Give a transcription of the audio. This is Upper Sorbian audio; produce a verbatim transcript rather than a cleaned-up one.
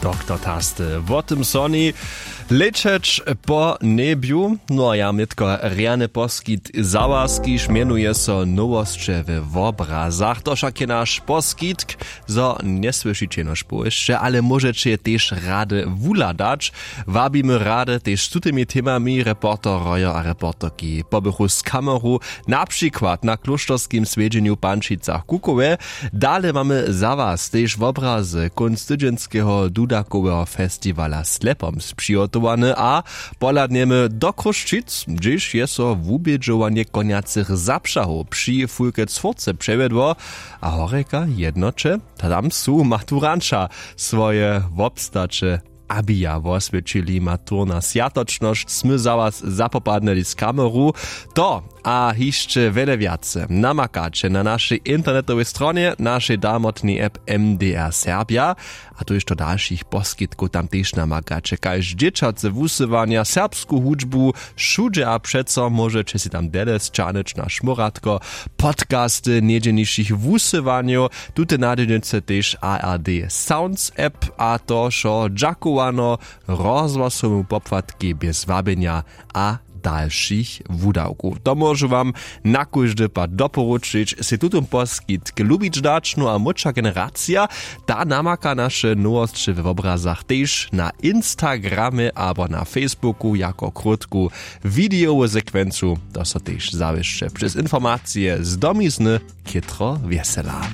Doktor Taste wo tym soni lećeć po njebju. No a ja nětko rjany poskitk za was, kiž mjenuje so Nowosće we wobrazach. To wšak je naš poskitk, zo njesłyšiće jenož powěsće, ale móžeće je tež rady wuhladać. Wabimy rady tež z tutymi temami reporterojo a reporterki pobychu z kameru, na přikład na klóšterskim swjedźenju w Pančicach Kukowe. Dale mamy za was tež wobrazy kónc tydźenskeho dudakoweho festiwala Slepomc přihotowane a pohladnjemy do Chrósćic, hdźež je so wubědźowanje konjacych zapřahow při Fulke Cwórce přewjedło. A horjeka jednoće, tam su maturanća swoje wobstaće abija woswjećili. Maturna swjatočnosć smy za was zapopadnyli z kameru. To a hišće wjele wjace namakaće na našej internetowej stronje, našej damotnej app M D R Serbja. A to hišće dalšich poskitkow tam tež namakaće, kaž dźěćace wusyłanja, serbsku hudźbu, wšudźe a přeco móžeće sej tam dele sćahnyć na šmóratko podcasty njedźelnišich wusyłanjow. Tute nadźělnicy tež A R D Sounds app a to wšo dźakowano rozhłasowemu popłatkej bjez wabjenja a dalšich wudawkow. To móžu wam na kóždy pad doporučić, sej tutón poskitk lubić dać. No a młódša generacija, ta namaka naše nowosće we wobrazach tež na Instagramje abo na Facebooku jako krótku widejowu sekwencu. To so tež zawěsće přez informacije z domizny chětro wjesela.